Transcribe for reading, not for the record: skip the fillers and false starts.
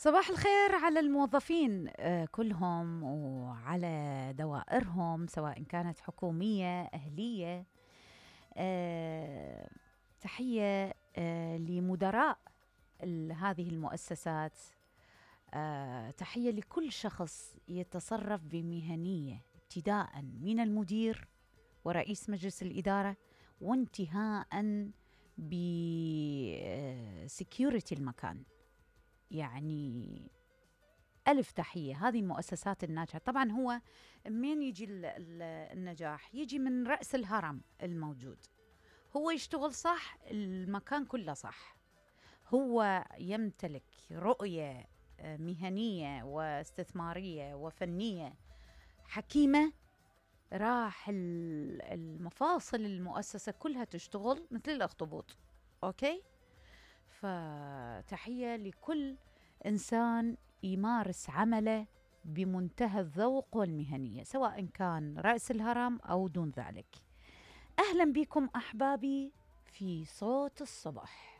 صباح الخير على الموظفين كلهم وعلى دوائرهم، سواء كانت حكومية أهلية. تحية لمدراء هذه المؤسسات. تحية لكل شخص يتصرف بمهنية، ابتداء من المدير ورئيس مجلس الإدارة وانتهاء بسكيورتي المكان. يعني ألف تحية. هذه المؤسسات الناجحة طبعا هو من يجي النجاح يجي من رأس الهرم الموجود. هو يشتغل صح، المكان كله صح. هو يمتلك رؤية مهنية واستثمارية وفنية حكيمة، راح المفاصل المؤسسة كلها تشتغل مثل الأخطبوط. أوكي، فتحية لكل إنسان يمارس عمله بمنتهى الذوق والمهنية، سواء كان رأس الهرم أو دون ذلك. أهلا بكم أحبابي في صوت الصباح.